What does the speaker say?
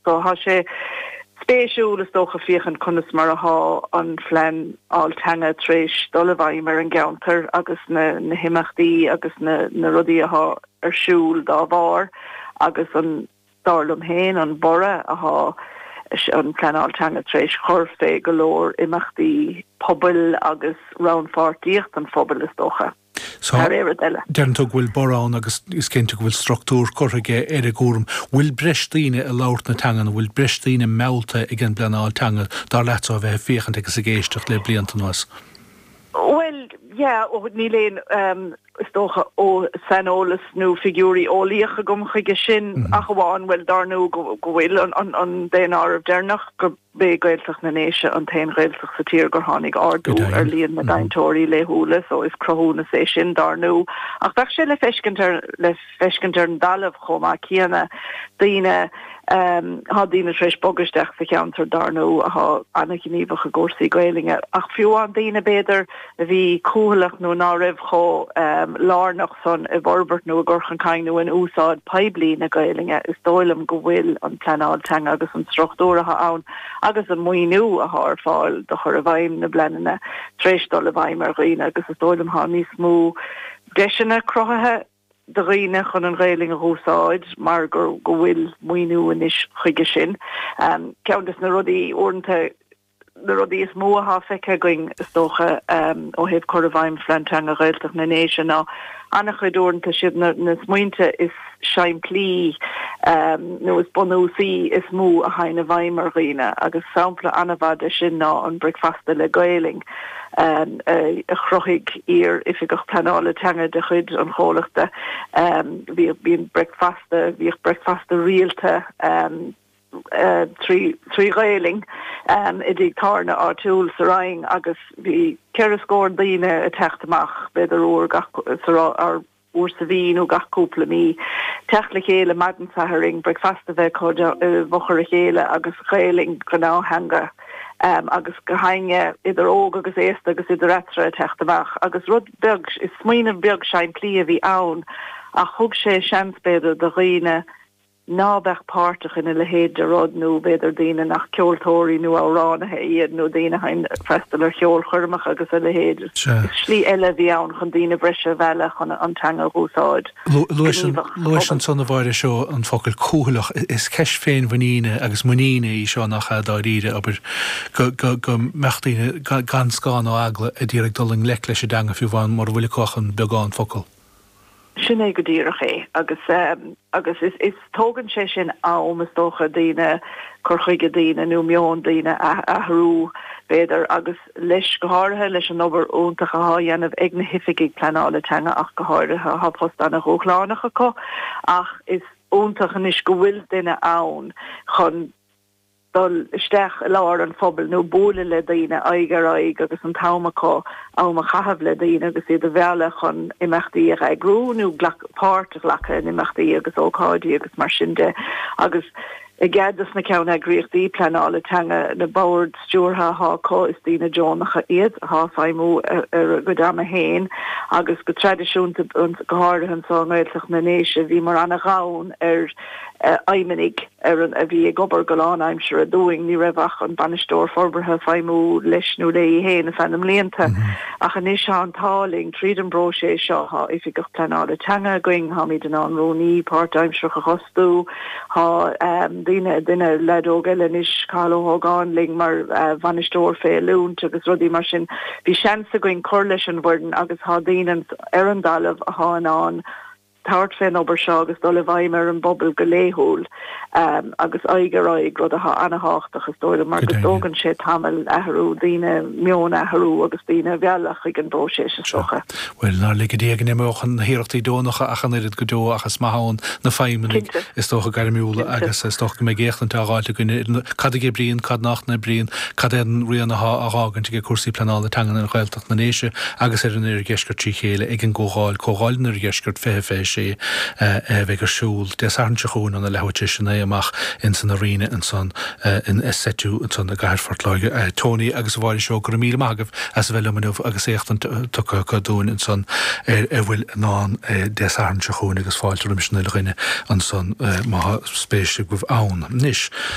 So thá sé spéisiúil is dócha féachaint conas mar athá an phleanáil teanga tar éis dul i bhfeidhm ar an gceantar agus na na himeachtaí agus na na rudaí athá ar siúl dá bharr agus an dar liom féin, an borradh athá an phleanáil teanga tar éis chur fé go leor imeachtaí pobail agus rannpháirtíocht an phobail is dócha, So, thar aon rud eile. deireann tú go bhfuil borradh ann agus is cinnte go bhfuil struchtúr curtha aige ar an gcúram. Bhfuil breis daoine ag labhairt na teanga nó bhfuil breis daoine meallta ag an bpleanáil teanga, dar leatsa, ó bheith ag féachaint agus ag éisteacht le blianta anuas? Bhuel, yeah, ó, níl aon, is dócha, ó saineolas nó figiúirí eolaíoch agam chuige sin, ach amháin, bhuel, dar ndóigh go bhfuil an daonáireamh deireanach, gurb é Gaeltacht na nDéise an t-aon Ghaeltacht sa tír gur tháinig ardú ar líon na gcainteoirí laethúla, so is cruthúnas é sin, dar ndóigh. Ach bheadh sé le feiscint ar, le feiscint ar an dtalamh chomh maith céanna, daoine, Thá daoine tar éis bogadh isteach sa cheantar, dar ndóigh, athá ana-ghníomhach i gcúrsaí Gaelainne, ach fiú amháin daoine, b'fhéidir, a bhí cúthaileach nó ná raibh chomh lárnach san i bhforbairt nó i gcur chun cinn nó in úsáid poiblí na Gaelainne, is dóigh liom go bhfuil an pleanáil teanga agus an struchtúr athá ann agus an maoiniú athá ar fáil do chur i bhfeidhm na bpleananna tar éis dul i bhfeidhm ar dhaoine agus is dóigh liom thá níos mó deiseanna cruthaithe do dhaoine chun an Ghaelainn a dh'úsáid mar gur go bhfuil maoiniú anois chuige sin. Ceann des na rudaí, uaireanta, na rudaí is mó athá feicthe againn, is dócha, ó thaobh cur i bhfeidhm Phlean Teanga Ghaeltacht na nDéise ná an-chuid uaireanta siad na na smaointe is simplí nó is bunúsaí is mó a théann i bhfeidhm ar dhaoine agus sampla an-mhaith de sin ná an Bricfeasta le Gaelainn. a chruthaigh iar-oifigeach pleanála teanga de chuid an chomhlachta. Bhíodh, bíonn bricfeasta, bhíodh bricfeasta rialta trí Ghaelainn i dtigh tábhairne áitiúil sa Rinn agus bhí ceithre scór daoine ag teacht amach, b'fhéidir uair gach, sa, uair sa mhí nó gach cúpla mí, teacht le chéile maidin Sathairn, bricfeasta a bheith acu i bhfochair a chéile agus Gaelainn, gnáth-theanga agus gach éinne, idir óg agus aosta agus idir eatarthu ag teacht amach. Agus rud beag, is smaoineamh beag simplí a bhí ann ach thug sé seans b'fhéidir do dhaoine ná beadh páirteach ina leithéid de rud nó b'fhéidir daoine nach ceoltóirí nó amhránaithe iad nó daoine a théann ag freastal ar cheolchoirmeacha agus a leithéid. Is slí eile a bhí ann chun daoine breise a mhealladh chun an teanga a dh'úsáid go gníomhach sa Luais phobal. ansan a Mháire seo an focal cúthaileach. Is ceist féinmhuiníne agus muiníne í seo nach ea dáiríre, abair, go go mbeadh daoine gan scáth ná eagla ag iarraidh dul i ngleic leis an dteanga fiú amháin mura bhfuil acu ach an beagán focal. Sin é go díreach é agus agus is is tógann sé sin am is dócha daoine cur chuige daoine nó meon daoine a athrú b'fhéidir agus leis go háirithe leis an obair iontach athá á dhéanamh ag na hoifigigh pleanála teanga ach go háirithe thá post ana-dhúshlánach acu ach is iontach anois go bhfuil duine ann chun dul isteach i lár an phobail nó bualadh le daoine aghaidh ar aghaidh agus an t-am acu am a chaitheamh le daoine agus iad a mhealladh chun imeachtaí a eagrú nó páirt a ghlacadh in imeachtaí agus ócáidí agus mar sin de agus i gcead dos na ceanneagraíochtaí pleanála teanga, na boird stiúrtha athá acu, is daoine deonacha iad athá ag feidhmiú ar a gcuid ama féin agus go traidisiúnta, go háirithe anseo i nGaeltacht na nDéise, bhíomar ana-ghann ar fheidhmeannaigh ar an a bhí ag obair go lánaimseartha dúinn. Ní raibh ach an Bainisteoir Forbartha ag feidhmiú leis nó léi féin ar feadh na mblianta. Ach anois tá an t-ádh linn, tríd an bpróiseas seo, tá Oifigeach Pleanála Teanga againn, táimid in ann rúnaí páirtaimsearach a fhostú, tá daoine, duine, leaid óg eile anois, Cathal Ó hÓgáin, linn mar bhainisteoir fé oiliúint agus rudaí mar sin. Bhí seans againn cur leis an bhfoireann agus tá daoine ar an dtalamh athá in ann tabhairt fén obair seo agus dul i bhfeidhm ar an bpobal go laethúil agus aghaidh ar aghaidh, rud atá ana-thábhachtach is dóigh liom mar go dtógann sé tamall athrú daoine, meon a athrú agus daoine a mhealladh chuig an bpróiseas is dócha. Bhuel, nár lige Dia go n-imeodh na hiarrachtaí deonacha ach an oiread go deo ach is maith ann na feidhmeannaigh is dócha gairmiúla agus is dócha go mbeidh éachtaint á fháilt againn ar cad a oibríonn, cad nach n-oibríonn, cad é an rian athá á dh'fhágaint ag cúrsaí pleanála teangan ar Ghaeltacht. na nDéise agus ar an Oirdheisceart trí chéile ag an gComhdháil, Comhdháil an Oirdheiscirt 2026, a bheidh ar siúl Dé Sathairn seo chugainn óna leathuair tar éis a 9 amach ins an Arena ansan in SETU ansan i gcathair Phort Láirge. Tony agus a Mháire Seoighe, go raibh míle maith agaibh as a bheith liom inniu agus éachtaint tugtha acu dúinn ansan ar a bhfuil i ndán Dé Sathairn seo chugainn agus fáilte roimis an uile dhuine ansan má tá spéis agaibh ann. Anois.